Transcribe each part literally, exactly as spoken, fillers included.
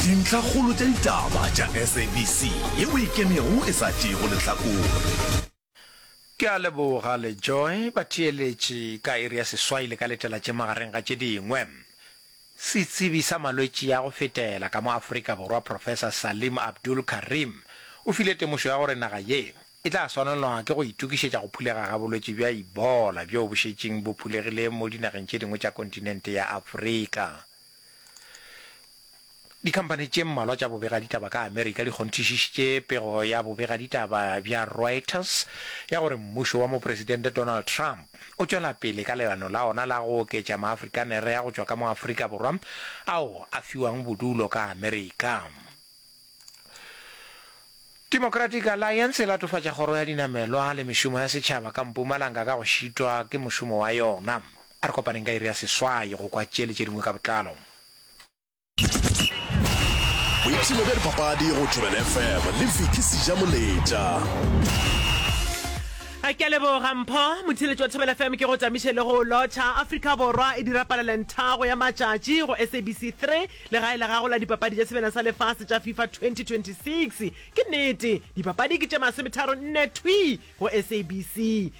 Dintlhakgolo tša ditaba tša S A B C yeo e ikemego e sa tšeego lehlakore. Ke a leboga LeJoy. Batheeletši ka iri ya seswai le ka letela tše magareng ga tše dingwe. Setsebi sa malwetši a go fetela ka mo Afrika Borwa Professor Salim Abdool Karim o file temošo ya gore naga ye e tla swanelwa ke go itokišetša go phulega ga bolwetši bja Ebola bjo bo šetšeng bo phulegile mo dinageng tše dingwe tša kontinente ya Afrika. Dikhamphani tše mmalwa tša bobegaditaba ka Amerika di kgonthišišitše pego ya bobegaditaba bja Reuters ya gore mmušo wa Mopresidente Donald Trump o tšwela pele ka leano la ona la go oketša Maafrikanere a go tšwa ka mo Afrika Borwa ao a fiwang bodulo ka Amerika. Democratic Alliance e latofatša Kgoro ya Dinamelwa le Mešomo ya Setšhaba ka Mpumalanga ka go šitwa ke mošomo wa yona. A re kopaneng ka iri ya seswai go kwa tše le tše dingwe ka botlalo. Boipshino bja dipapadi go Thobela F M le Vicky Sejamoletša. Ke a leboga Mpho, motheeletši wa Thobela F M, ke go tamiše le go lotšha. Afrika Borwa e dira palelenthago ya matšatši go S A B C three, legae la gago la dipapadi tša Sebjana sa Lefase tša FIFA twenty twenty-six. Ke nnete, dipapadi ke tše masometharo nne thwii go S A B C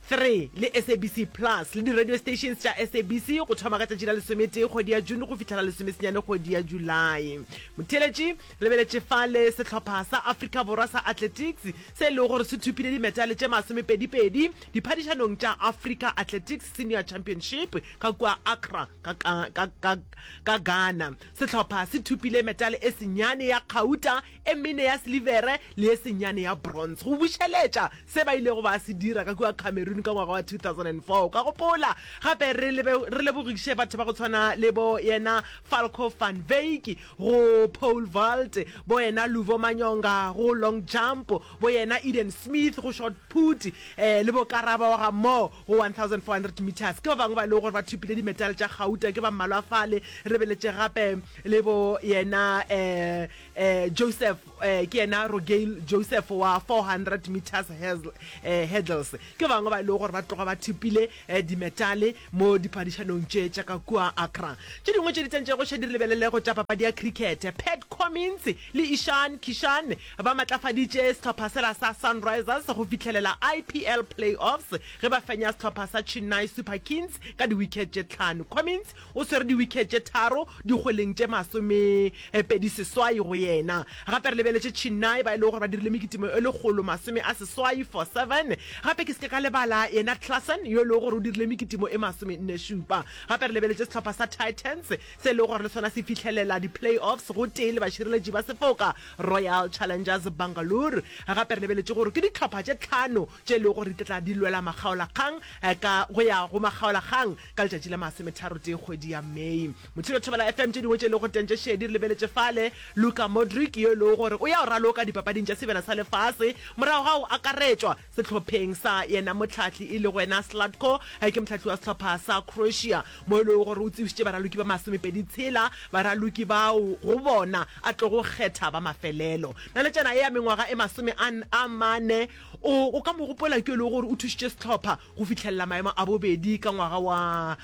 three le S A B C Plus le di-radio stations tša S A B C go thoma ka tšatši la lesometee kgwedi ya June go fihla la lesomesenyane kgwedi ya July. Motheeletši, lebeletše fale sehlopha sa Afrika Borwa sa athletics se e lego gore se thopile dimetale tše masomepedipedi diphadišanong tša Africa Athletics Senior Championship ka kua Accra ka, ka, ka, ka, ka Ghana. Sehlopha se thopile metale e senyane ya kgauta, e mene ya silivere le e senyane ya bronze, go bušeletša se ba ilego ba se dira ka kua Cameroon ka ngwaga wa two thousand and four. Ka gopola gape re lebe- re lebogiše batho ba go tshwana le bo yena Falco van Wyk go pole vault, bo yena Luvo Manyonga go long jump, bo yena Eden Smith go shot put, eh, le bo Karaba wa ga Mo go fourteen hundred meters. Ke ba bangwe ba e lego gore ba thopile dimetale tša gauta, ke ba mmalwa fale. Re beletše gape le bo yena eh, eh, Joseph, eh, ke yena Rogail Joseph wa four hundred meters hurdle- eh, hurdles. Ke ba bangwe ba e lego gore ba tloga ba thopile eh, dimetale mo diphadišanong tše tša ka kua Accra. Tše dingwe tše di tsentšego še di re lebelelego tša papadi ya cricket, Pat Cummins le Ishan Kishan ba matlafaditše sehlopha sela sa Sunrisers go fihlelela I P L playoffs ge ba fenya sehlopha sa Chennai Super Kings ka di-wicket tše tlhano. Cummins o swere di-wicket tše tharo dikgweleng tše masome eh, pedi seswai go yena. Gape re lebeletše Chennai ba e lego gore ba dirile mekitimo e lekgolo masome a seswai for seven. Gape ke seke ka lebala yena Klassen yo e lego gore o dirile mekitimo e masome nne šupa. Gape re lebeletše sehlopha sa Titans se e lego gore le sona se fihlelela di-playoffs go tee le bašireletši ba sefoka Royal Challengers Bangalore. Gape re lebeletše gore ke dihlopha tše tlhano tše e lego gore di tla di lwela makgaolakgang eh, ka go ya go makgaolakgang ka letšatši la masometharotee kgwedi ya May. Mothilo Thobela F M, tše dingwe tše e lego teng tše šedi, re lebeletše fale Luka Modric yo e lego gore o ya go raloka dipapading tša Sebjana sa Lefase morago ga go akaretšwa sehlopheng sa yena mohlahli e lego yena Zlatko, eh, ke mohlahli wa sehlopha sa Croatia, mo e lego gore o tsebišitše baraloki ba masomepedi tshela, baraloki bao go bona a tlogo kgetha ba mafelelo. Naletšana e ya mengwaga e masome a a mane o o ka mo gopola ke e lego gore o thušitše sehlopha go fihlelela maemo a bobedi ka ngwaga wa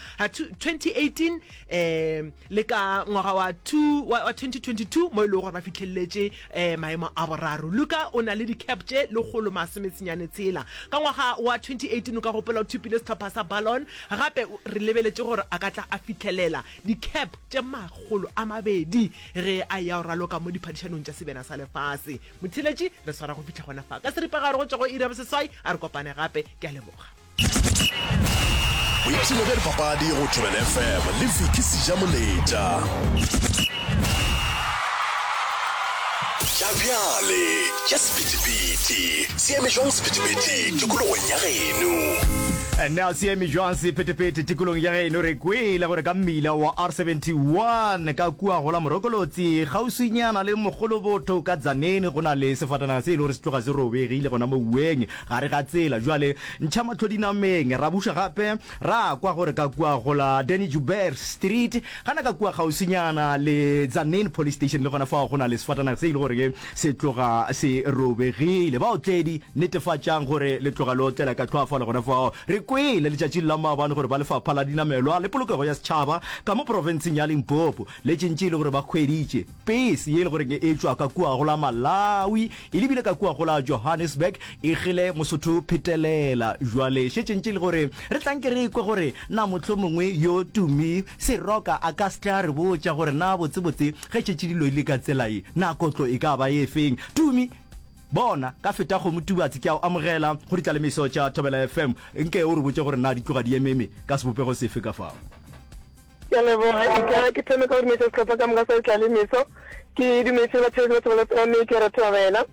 twenty eighteen um le ka ngwaga wa two wa wa twenty twenty-two mo e lego gore ba fihleleletše um maemo a boraro. Luka o na le di-cap tše lekgolo masomesenyane tshela. Ka ngwaga wa twenty eighteen o ka gopola o thopile sehlopha sa Ballon. Gape re lebeletše gore a ka tla a fihlelela di-cap tše makgolo a mabedi ge a ya go raloka mo diphadišanong tša Sebjana sa Lefase. Motheeletši, re swara go fihla gona fa ka seripagare go tšwa go iri ya boseswai. A re kopane gape, ke a leboga. Boipshino bja dipapadi go Thobela F M le Vicky Sejamoletša. Tša bjale tša sephethephethe se eme jwang sephethephethe tikologong ya geno? Na se eme jwang sephethephethe tikolong ya geno? Re kwele gore ka mmila wa R seventy-one ka kua gola Morokolotsi kgauswinyana le Mogolobotho ka Tzaneen go na le sefatanaga se e le gore se tloga se robegile gona mo ueng gare ga tsela. Jwale ntšha mahlo dinameng. Ra buša gape ra kwa gore ka kua gola Danny Joubert Street gana ka kua kgauswinyana le Tzaneen Police Station le gona fao go na le sefatanaga se e le gore se tloga se robegile. Baotledi, netefatšang gore le tloga le otlela ka tlhoafalo gona fao. Re kwele letšatšing la maabane gore ba lefapha la dinamelwa le polokego ya setšhaba ka mo profenseng ya Limpopo le tšentše e le gore ba hweditše pese ye e le goreng e tšwa ka kua go la Malawi e lebile ka kua go la Johannesburg e gele Mosotho phetelela. Jwale šetše ntše e le gore re tla nke re kwe gore na mohlomongwe yo Tumi Seroka a ka se tle a re botša gore na botsebotse ge šetše dilo di le ka tsela ye na kotlo e ka ba ye feng. Tumi, Bona, ka feta kgomo Tubatse, ke a o amogela go ditlalemiso tša Thobela F M. Nke o re botše gore na di tloga di ememe ka sebopego sefe ka fao. Ke a leboga. E ka ke thome ka go dumediša sehlopha ka moka sa Ditlalemeso. Ke dumediše le batheeletši ba Thobela F M, ke re thobela.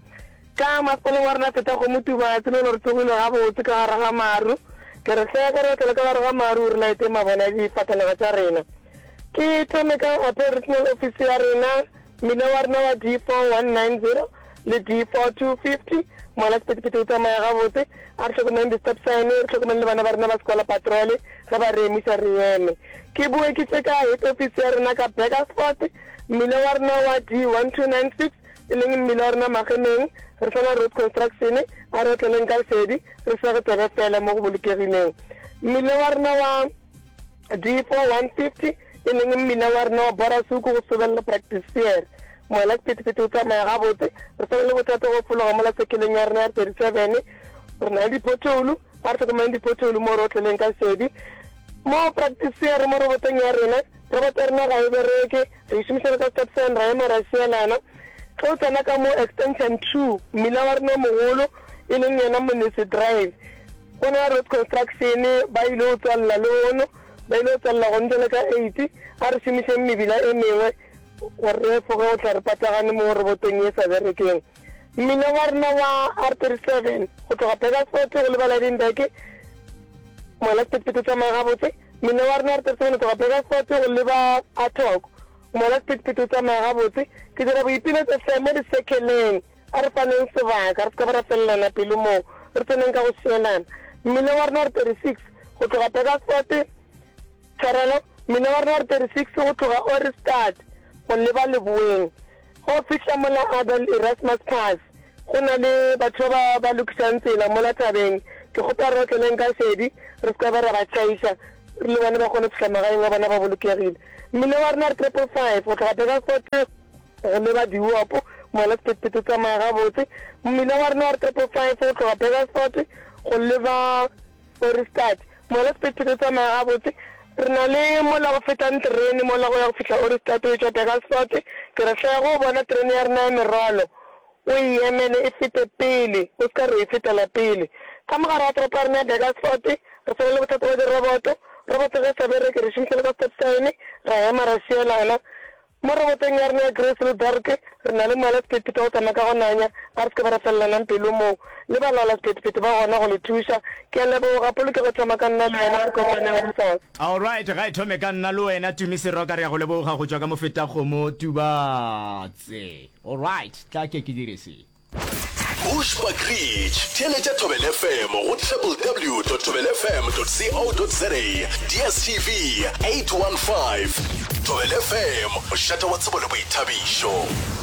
Ka masepaleng wa rena feta kgomo Tubatse, le re tsogile gabotse ka gare ga maru. Ke re hleka re otlela ka gare ga maru re laete mabone a difatanaga tša rena. Ke thome ka Appeal Regional Office ya rena, Mmila wa rena wa D four one nine zero le D four two fifty, mola sephethephethe o tsamaya gabotse. A re hlokomeleng di-stop sign, re hlokomeleng le bana ba rena ba sekola patrole, ge ba re emiša re eme. Ke boe ke tše ka head office ya rena ka Burgersfort, mmila wa rena wa D one two nine six, e leng mmila wa rena Magemeng, re sa na road construction, a re otleleng ka šedi, re sege tsebe fela mo go bolokegileng. Mmila wa rena wa. D four one fifty, e leng mmila wa rena wa Borasuku go sobelela Praktiseer. Moela sephethephethe o tsamaya gabotse. Re sa na le bothata go fologa mola sekeleng ya rena ya thirty seven. Re na le diphothoulo, a re hlokomeleng diphothoulo mo re otleleng ka šedi. Mo Praktiseer mo robotong ya rena, roboto ya rena ga e bereke, re e šomišana ka stop sign ra ema ra šielana. Ge o tsena ka mo Extension two, mmila wa rena o mogolo, e leng yona Monese Drive, Go na road construction ba ile go tswalela lehono, ba ile go tswalela gone jwale ka eight. A re šomišeng mebila e mengwe gore re efoge go tla re patagane mo robotong ye sa berekeng. Mmila wa rena wa R thirty seven go tloga Burgersfort go leba Lydenburg, mola sephethephethe o tsamaya gabotse. Mmila wa rena wa R thirty seven go tloga Burgersfort go leba Atok, mola sephethephethe o tsamaya gabotse. Ke dira boipiletšo hle mo di-circle-eng. A re faneng sebaka, re se ka ba ra felelana pelo moo re tseneng ka go šielana. Mmila wa rena wa R thirty six go tloga Burgersfort, tshwarelo, mmila wa rena wa R thirty six go tloga Ohrigstad go leba leboeng, ge o fihla mola Abel Erasmus Pass, go na le batho ba ba lokišang tsela mola thabeng. Ke kgopela re otleleng ka šedi, re se ka ba ra ba tšhaiša, re le bone ba kgone go fihla magaeng a bona ba bolokegile. Mmila wa rena wa R triple five go tloga Burgersfort, Go leba Diopo, mola sephethephethe o tsamaya gabotse. Mmila wa rena wa R triple five go tloga Burgersfort go leba Ohrigstad, mola sephethephethe o tsamaya gabotse. Re na le mola go fetang terene mola go ya go fihla Ohrigstad o etšwa Burgersfort. Ke re hle ge o bona terene ya rena ya merwalo o e emele e fete pele, o se ka re o e fetela pele. Ka mo gare ga toropo ya rena ya Burgersfort re sa na le bothata bja diroboto. Roboto ge e sa bereke re šomiša le ka stop sign, ra ema ra šielana. Mo robotong ya rena ya Greyselberg, re na le moala sephethephethe wa go tsamaya ka go nanya. A re se ke ba ra felelanang pelo moo. Le balaola sephethephethe ba gona go le thuša. Ke a leboga. Polokego e thoma ka nna le wena. Re kopaneng gosasa. Alright, ga e thome ka nna le wena Tumi Seroka, re a go leboga go tšwa ka Mofetakgomo Tubatse. Alright, tla ke ke dire se. Bushbuckridge, Theeletša Thobela F M go W W W dot thobela F M dot co dot za, D S T V eight one five. Thobela F M, mošate wa tsebo le boithabišo.